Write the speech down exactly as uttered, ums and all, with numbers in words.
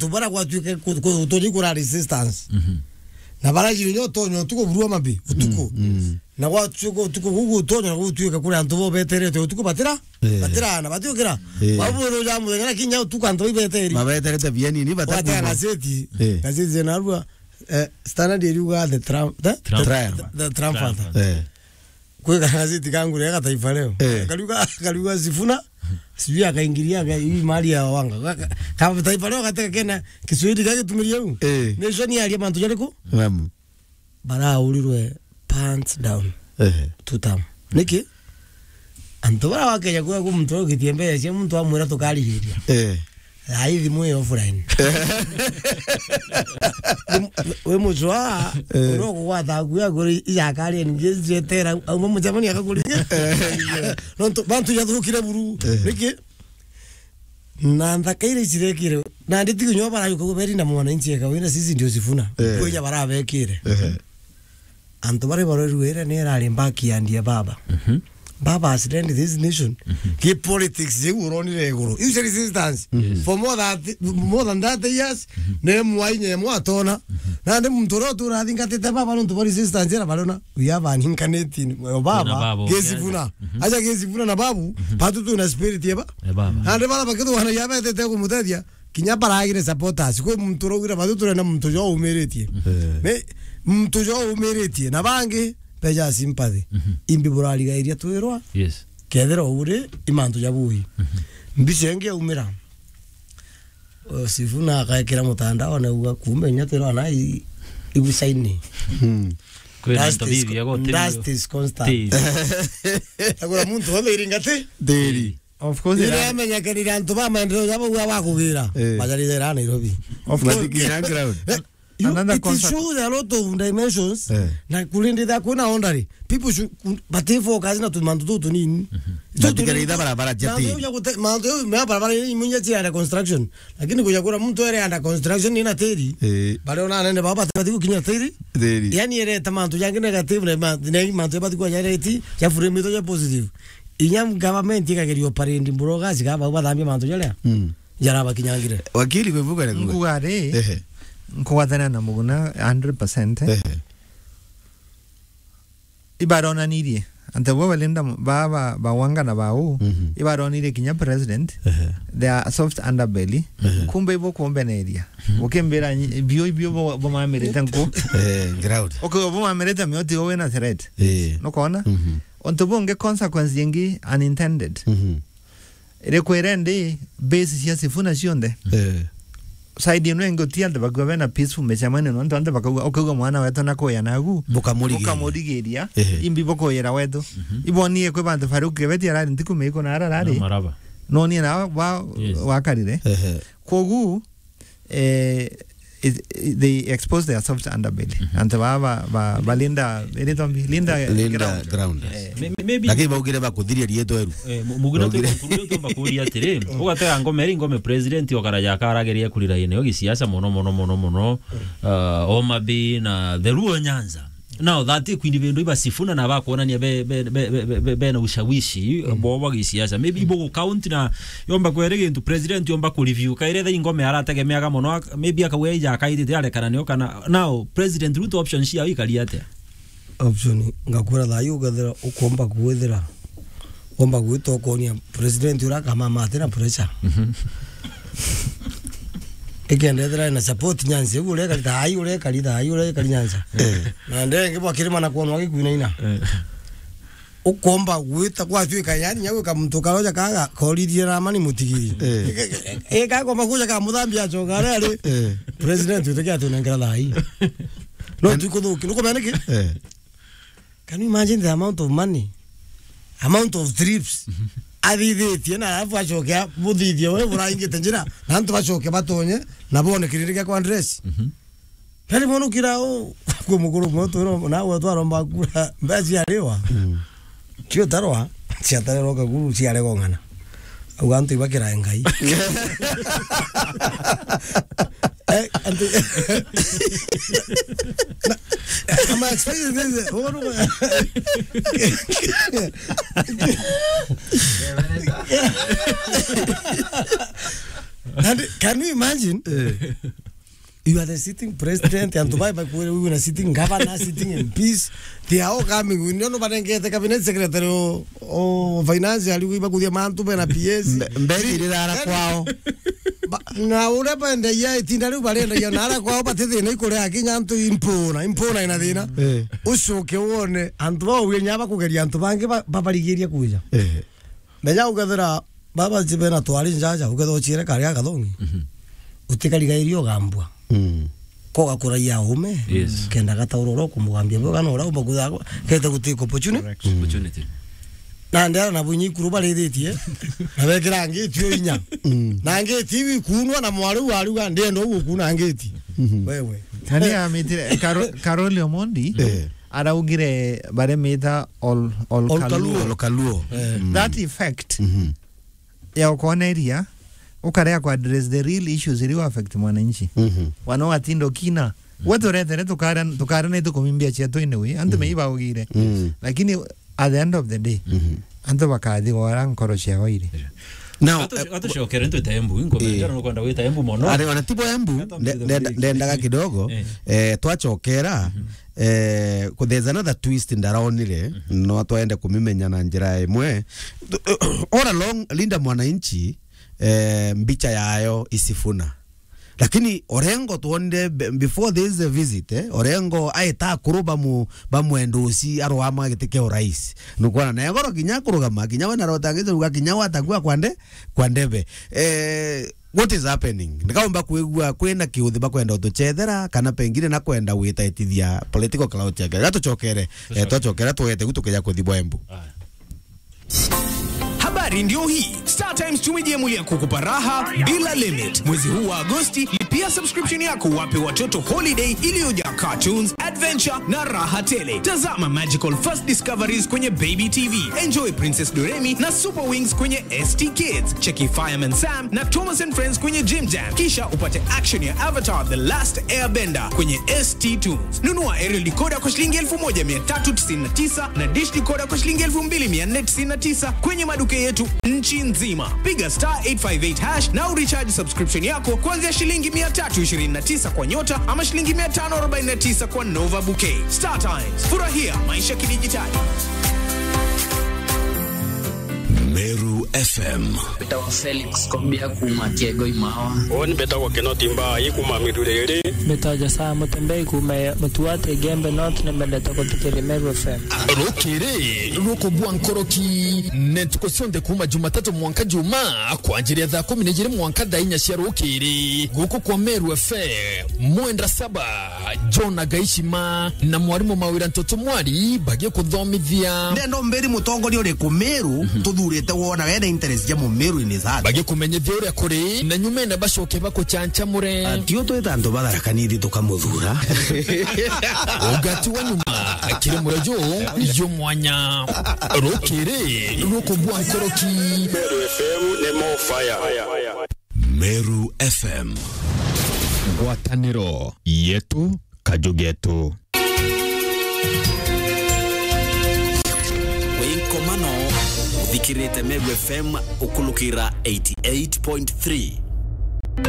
antu bara gwatuike ku-, ku-, utonyi kura resistance. Mhm. Na bara jiri nyo utonyo utuku burua mabi, utuku. Mm, mm. Na gwatuika utuku gugu utonyo na gutuika kuri antu bo beterete utuku batira, eh, batira na batiukira. Eh. Babu ro ja muthenya na kinya utuku antu ibeteri. Mabeterete bieni ni batakuuma. Watega gazeti, eh, gazeti na rua, eh, Standard iriuga the Trump, the, Trump. The, the, the Trump Trump. Father. Eh. Kwi gazeti kangure ya Taifa Leo. Eh. Kariuga, kariuga Sifuna, sijui akaingilia ga-, hii mali ya Wanga. Ka, ka, ka Taifa Leo gateka kena Kiswahili gagitumirie u. Eh. Nation yaria mantu jariku? Naam. Baraurirwe pants down. Eh. Two term. Niki? Antu bara wakeja kuya ku muntu ugitie mbeca cia muntu amwira tukarigiria. Eh. Ai, thimu ii offline. Wi, wi mucwa, eh, uria ukugwata aku ya kuri ijakaria ningi cietera, auma mucemani akakuri. Nontu bantu jathukire buru. Eh. Niki? Na nthaka iria icirekire, na nditi kinya barajuka kuberi na mwananchi eka wina sisi ndio Sifuna. Eh. Kweja barabekire. Eh. Antu baria barorue ira ni irari backyard ya baba. Mhm. Baba has led this nation. Mhm. Ki politics jiu uronire iguru. Iu cia resistance. Mhm. For more than, more than thirty years, mhm, ni mwainya imwe atona. Mhm. Nandi muntu uria utura athingatite baba nontu bwa resistance ira barona. We have an incarnate in, o baba, baba, Gesi Funa. Mhm. Aja Gesi Funa na babu, mhm, batu twina spirit ya ba-, ya baba. Nandi bara bakithwana ya betete kumutethia. Kinya baragire supporters, kwi muntu uraugire, "Bathu turenda muntu jo umiritie." Eh. Me, muntu jo umiritie, na bangi beja sympathy. Mhm. Imbi burarigairia twirwa? Yes. Kethira uri, i mantu ja bui. Mhm. Mbica ingi yaumira. O, Sifuna akaekira mutandao, na uga, "Kumbe inya twirwa na i-, igucaini." Hmm. Kwina dust into is bibi co-, ya gotiri dust is constant. Ti. Agura muntu wothe iringati? Diri. Of course, ira amenyekanire antu ba maendeleo jabo gwa bakugira. Eh. Majarire ira Nairobi. Of course. Matikira ground. Eh, you, another it is concept. Shows a lot of dimensions. Eh. Na kurinditha kwina ondari. People should, bati focus na tumantu tutu tunini. Mhm. Tutu tunini. Matikira itha barabara jati. Mantu ya gute-, mantu ya barabara ni munya cia under construction. Lakini kuja kura muntu ere under construction ina tiri. Eh. Bale ona nene baba tati gukinya tiri. Tiri. Yani ere ta mantu jangi negative na ma-, na mantu ya bati kwa jareti, ya frame to ya positive. Inya government ikageria operate mburoga, ciga bau bathambia mantu jaria, mm, jarabakinyangire. Wakili, kwivuga na kuga. Nkuga ri, ehe, nkugwathana na Muguna hundred percent. Ehe. Ibaronanirie, antu bo balinda m-, ba, ba, ba Wanga na bau, mhm, ibaronirie kinya president, ehe, they are soft underbelly. Ehe. Kumbe ibo kumbeneria. Mhm. Ukimbira nyi-, bio, bio bo, bo mamirite nku. Eh, ground. Okay, bo mamirite mioti, we na threat. Eh. Nukona? Mhm. Untu bungi, consequence ingi unintended. Mhm. Iri kwira ndi base cia Sifuna cionthe. Eh. Side ino ingi uti antu bakua bena peaceful micemanio, nontu antu bakauga, ukauga mwana wetu na kuya nagu, bukamurigiria. Bukamurigiria, ehe, imbi bukuyira wetu. Mhm. Ibonie kwi bantu Farouk Kibeti arari ntiku miiko na ararari. Na maraba. Nonie na wa, yes, wakarire. Ehe. Kogu, eh, it, it, they expose their soft underbelly. Mhm. Antu ba, ba, ba, balinda, iritwa mbi, linda, linda ground. Ground. Eh, may-, may-, maybe. Lakini baugire bakuthiria rietwa eru. Eh, mu-, mugire tu baugire. Kuria tu bakuria atiri, ugatega ngome eri ngome president okaraja akarageria kurira ine yo gisiasa mono, mono, mono, mono. Uh, Homa Bay na the Luo Nyanza. Now, that kwini bindu iba Sifuna na bakuonania be, be, bena ushawishi, mm, bo bwa gisiasa. Maybe ibo gu count na yomba kwere gintu president yomba ku review. Kaire tha ingome arategemeaga mono, ak-, maybe akauga ija akaitite arekana nio kana. Now, President Ruto option cia ikari atia? Option, ngakura thayu ugathira ukomba kuwithira. Womba gwita ukonia president uria akamama ati na pressure. Mhm. Ikenda ethira na support Nyanza, iu urekari thaai, urekari thaai, urekari Nyanza. Eh. Na ndenge bwa kirima na kwonwa gikuinaina. Eh. Ukomba gwita gwatuika yani nya gwika muntu karoja kaga koririe na mani mutigiri. Eh. Ika komba kuja ka muthambia achoka ari ari. Eh. President witeke atunengera thaai. No, and tukuthuki, nukumenya niki? Eh. Can you imagine the amount of money? Amount of trips. Athithitie na alafu acoke abuthithie we buraingite njira. Na antu bacoke batonye na bone kirindi gia kwa address. Mhm. Nari mono kira u, ku mukuru mwe twiro, na we twaromba kura, mbeca ciariwa. Mm. Cio tarwa, ciatarerwa kaguru, ciaregong'ana. Au antu ibakira Ngai. Eh, antu, na, I'm expecting this. And can you imagine? You are the sitting president, antu bai bakwire, we na sitting governor, sitting M Ps. They are all coming. We don't know barengete cabinet secretary o, o finance, ali bakuthia mantu bena P S. Mbe-, mberi irira ara kwao. Ba-, na uria bendagia itinda riu barendagia na ara kwao batithina ikuria kinya antu impuna, impuna ina thina. Eh. Ucoke wone antu bau uge nya bakugeria antu bangi ba-, babarigiria kuja. Eh. Menya ukethira baba jibe na twari njaja, ukethira uchiere kari agathongi. Mhm. Utikarigairia ugambua. Mm. Koga kuraia ume, yes, kenda gatauroro kumugambia bwega na ura umba kutha kete gutika opportunity. Correct. Mm. Opportunity. Na ndera na bunyi kuru barithitie, na bekira ngiti o inya. Mm. Na ngiti iu ikunwa na mwari wa ruga ndendo ugu kuna ngiti. Mhm. Wewe. Nani amitire Karo-, Karoli Omondi? Eh. Araugire baremita all, all All Kaluo. Kaluo. All Kaluo. Eh. Mm. That effect, mhm, ya ukoneria, ukarea ku address the real issues iri affect mwananchi. Mhm. Wana watindo kina. Mm. We turetere tukara, tukara ni tukumimbia cia twene we. Antu, mm, mei baugire. Mm. Lakini at the end of the day, mhm, antu bakathi gwara nkoro ciao iri. Now, atu-, eh, atucokere ntwite Embu, inkomenda, eh, nukwenda gwita Embu mono. Ari, ona tibo Embu, nde-, nde-, ndendaga kidogo, eh, eh, twacokera, mhm, eh, ku-, there's another twist ndaronire, mhm, no twende kumimenya na njira imwe. All along, Linda Mwananchi, eh, mbicha yayo i Sifuna. Lakini Orengo twonire be-, before this visit, eh, Orengo aita akuru bamu-, bamwenda uci arwama giti kia urais. Nukwona na egoro kinya kurugama, kinya we na rotangite ruga kinya we atakua kwa nde-, kwa ndebe. Eh, what is happening? Ndikaumba kwigua kwina kiuthi bakwenda utuchethera, kana pengine na kwenda gwitaitithia political clout yake. Gatuchokere, eh, twachokera twete gu tukija kuthi bwa Embu. Aya. Habari ndio hii. Star Times tumejiamulia kukupa raha bila limit. Mwezi huu wa Agosti, lipia subscription yako, wape watoto holiday iliyojaa cartoons, adventure na raha tele. Tazama Magical First Discoveries kwenye Baby T V. Enjoy Princess Doremi na Super Wings kwenye S T Kids. Cheki Fireman Sam na Thomas and Friends kwenye Jim Jam. Kisha upate action ya Avatar The Last Airbender kwenye S T Tunes. Nunua aerial decoder kwa shilingi elfu moja mia tatu tisini na tisa na dish decoder kwa shilingi elfu mbili mia nne tisini na tisa kwenye maduka yetu nchi nzima. Piga star eight five eight hash na urecharge subscription yako kuanzia shilingi mia tatu ishirini na tisa kwa Nyota ama shilingi mia tano arobaini na tisa kwa Nova Bouquet. Star Times, furahia maisha kidijitali. Meru F M. Mbetawa Felix Kobia kuma Kiego Imawa. Uuni mbetagwa Kinoti Mbai kuma Miruriri. Mbetawa Josia Mutembei kuma Mutuate, Igembe North, na mbendete kuthikiria Meru F M. Rukiri rukubua nkoroki ni ntuku cionthe kuma Jumatatu mwanka Juma, kwanjiria thaa kumi na ijiri mwanka thaa inya cia rukiri, guku kwa Meru F M, mwenda saba. John Agaishima na mwarimu Mawira Ntoto Mwari bagikuthomithia. Ndenda umbiri mutongoria uriku Meru, mhm, tuthurite wona wena interest ja Mumeru in his heart. Bagikumenyithia uria kuri, na nyumene bacoke bakuchanchamure. Atio twita antu batharakanithi tukamuthura. Ugati wa nyuma kiri murejo yu mwanya. Rukiri rukubua nkoroki. Meru F M ni more fire. Meru F M. Ngwataniro yetu, kaju getu. Wi nkomano, uthikirite Meru F M ukulukira eighty eight point three.